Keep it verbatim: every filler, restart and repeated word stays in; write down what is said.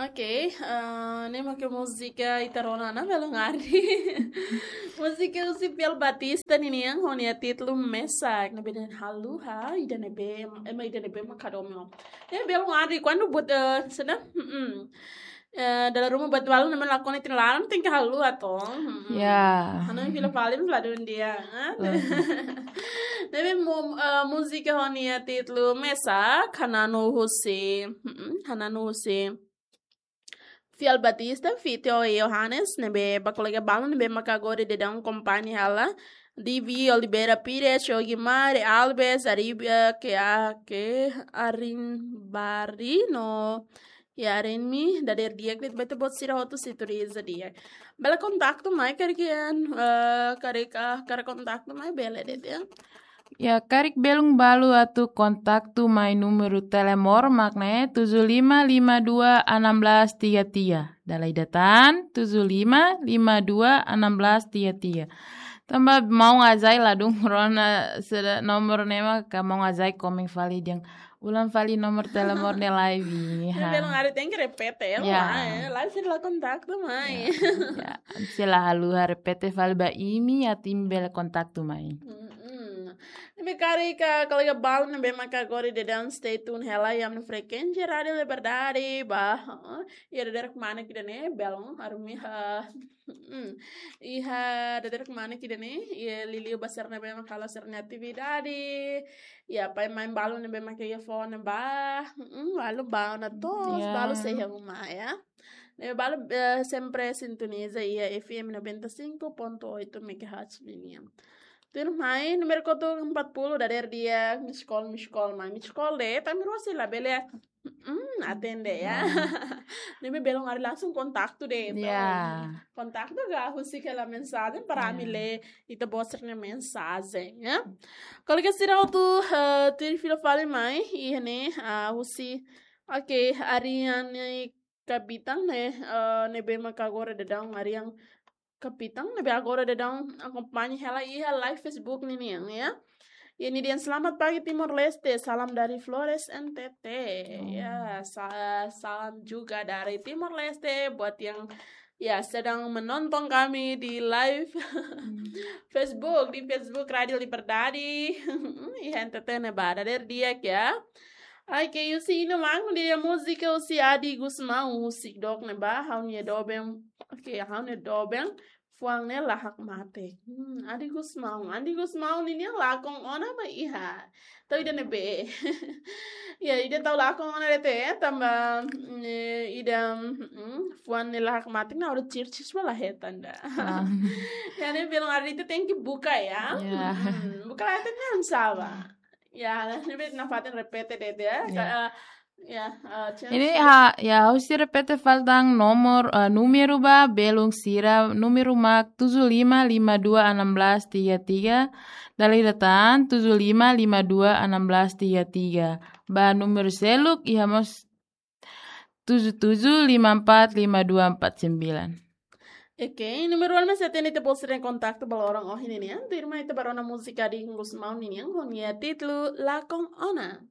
Ok, ah, ne'e mak múzika ita rona ona, belun arri. Múzika husi Fiel Batista ninian, ho nia títulu Mesak, ne'ebé dehan haluha, ida ne'ebé, ema ida ne'ebé mak hadomi ó. Ya, belun arri, kuandu buat, eh, sedang, mm-mm. Eh, dala ruma buat balu ne'ebé lakon iha ita-nia laran, tenke haluha to. Mm-mm. Ya. Hanoin fila fali la dún di'ak, ah. Oh. Ne'ebé mu-, eh, múzika ho nia títulu Mesak, hananu husi, mm-mm, hananu husi Fiel Batista, feat ho Johannes, ne'ebé ba kolega balu ne'ebé maka agora daudaun kompañia hela, Divi, Oliveira Pires, Jogi Mari, Alves, Aribia, ke a, ke Arin Bari, no, ya, Arin Mi, dadeer di'ak, de'it ba ita-boot sira hotu sintoniza di'ak. Bele kontaktu mai, karik, eh, karik, ah, karik kontaktu mai, bele de'it, ya. Ya, karik belun balu atu kontaktu mai númeru telemóvel mak ne'e tujuh lima lima dua enam belas tiga tiga. Dala ida tan, tujuh lima lima dua enam belas tiga tiga. Tanba maun Azai la dún rona sira nomor ne'e mak, ka maun Azai komen fali dehan ulang fali nomor telemóvel ne'e live. Ne'e ha. Belun arri tenke repete, ya, ya. Mai, eh, live sira la kontaktu mai. Ya, ya. Se la haluha repete fali ba imi, atu imi bele kontaktu mai. Mm-mm. Ne'ebé karik kolega balu ne'ebé maka agora daudaun stay tune hela iha ami-nia frekuénsia Rádio Liberdade, ba, eh, iha dadeer kmanek ida-ne'e, belun arumi ha, mm, iha dadeer kmanek ida-ne'e, iha liuliu ba sira ne'ebé maka halo sira-nia atividade, ya, pai-mãe balu ne'ebé maka iha foho ne'ebá, mm, balu bá ona to'os, ya, balu sei iha uma, ya. Ne'ebé balu, eh, sempre sintoniza iha F M noventa e cinco ponto oito megahertz ninian. Tuirmai, númeru kotuk empat puluh, dadeer di'ak, miss call, miss call, mai miss call de'it, ami rua sei labele, mm, atende, ya. Ah. Ne'ebé belun arri langsung kontaktu de'it. Ya. Kontaktu ka husik hela mensajen para, ya, ami lee ita-boot sira-nia mensajen, ya. Kolega sira hotu, eh, tuir fila fali mai, iha ne'e, ah, husi, oke, Ariane Kapitan ne'e, eh, ne'ebé maka agora daudaun Ariane Kapitan, ne'ebé agora daudaun akompaña hela iha live Facebook ninian, ya. Iha nia dehan selamat pagi Timor-Leste, salam dari Flores N T T. Oh. Ya, sa-, salam juga dari Timor-Leste buat yang, ya, sedang menonton kami di live, hmm, Facebook, di Facebook Rádio Liberdade. Iha N T T ne'ebá, dadeer di'ak, ya. Ai, ke husi ino mangno dia múzika husi Adi Gusmão, husi dook ne'ebá, ha'u-nia doben, oke, ha'u-nia doben, fuan ne'e la hakmatek. Hmm, Adi Gusmão, Adi Gusmão ninian lakon ona mak iha. Tau ida ne'ebé. Ya, ida tau lakon ona de'it, tanba, mm, eh, ida, mm, fuan ne'e la hakmatek, na hora church, church malah hetan ida. Ah. Ya, ne'e belun arri ita tenke buka, ya. Ya. Mm, buka la hetan ne'e hanesan sá. Ya, ne'ebé nafatin repete de'it, ya. Ya. Ka, eh, ya, eh, chance. Ini ha, ya, ha'u sei repete fali tan nomor, eh, númeru ba belun sira, númeru mak tujuh lima lima dua enam belas tiga tiga, dala ida tan tujuh lima lima dua enam belas tiga tiga. Ba númeru seluk, iha mós tujuh tujuh lima empat lima dua empat sembilan. Oke, númeru anu mak sei atende ita-boot sira-nia kontaktu ba loron ohin ninian. Tuirmai ita bá rona múzika Adi Gusmão ninian, ho nia títulu Lakon Ona.